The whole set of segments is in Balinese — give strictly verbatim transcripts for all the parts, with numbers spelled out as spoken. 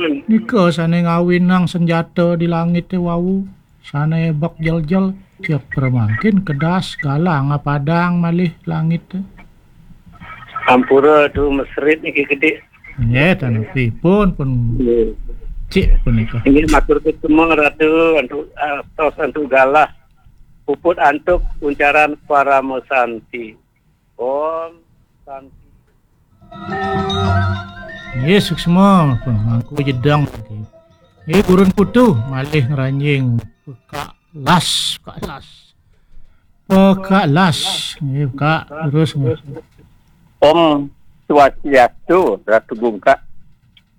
Nika sane ngawinang senjata di langite wau, sane bek jeljel, cek pramangkin kedas galah ngapadang malih langite. Ampura tu mesrit niki gede. Nggih, tan pripun pun. Nggih. Cik punika. Inggih matur suksma Ratu antuk, ah, tos antuk galah. Puput antuk uncaran parama santi. Om Santi. Nggih, suksma pun mangku jedang. Nggih, purun putu malih ngranjing pekak las, pekak las. Pekak las. Nggih, Kak, terus nggih. Om Swastiastu, Ratu Bungkak.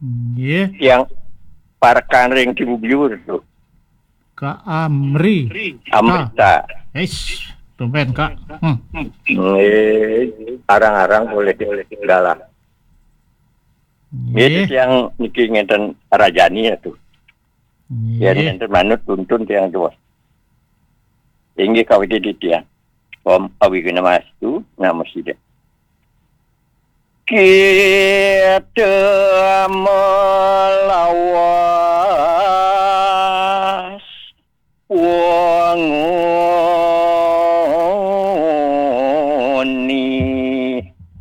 Nggih. Yang parekan ring Cibubur tu. Kak Amri. Amrita. Eish, tumben, Kak. Hmm. Nggih, arang-arang boleh galah. Nggih, nggih. Tiang niki ngenten rajani ya tu. Nggih. Yen ngenten manut tuntun tiang tua. Inggih kawiti di tiang. Om Awighnamastu, namo sida. Kita melawas wangoni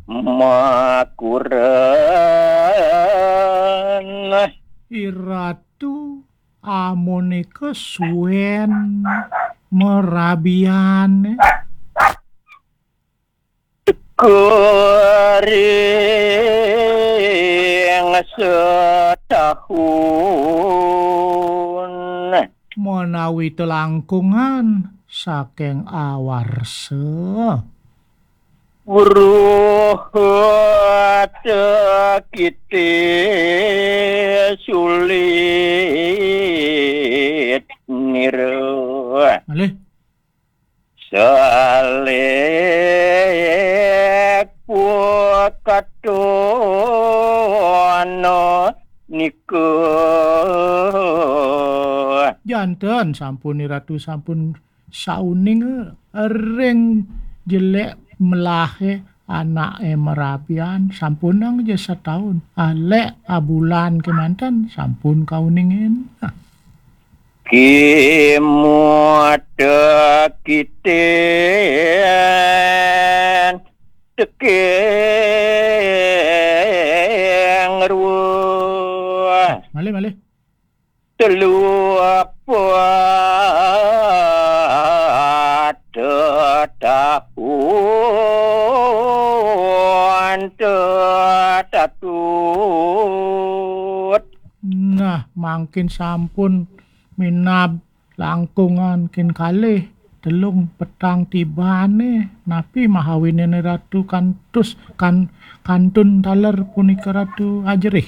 makuren. Iratu amunika suwen merabian. Kering setahun. Menawi telangkungan saking awarsa. Ruh tekite sulit nira. Malih. Salek pukatuna nika. Janten sampun Ratu sampun sauning ring jelek melahe anake merabian sampunang ja setaun. Alek abulan kemanten sampun kauningin. Kimut tekiten tekeng ruah. Malih, malih. Telu apat tetahun tetatut. Nah, mangkin sampun minab langkungan kin kalih telung petang tibane, napi mahawinene Ratu kantus kan-, kantun taler punika Ratu ajerih?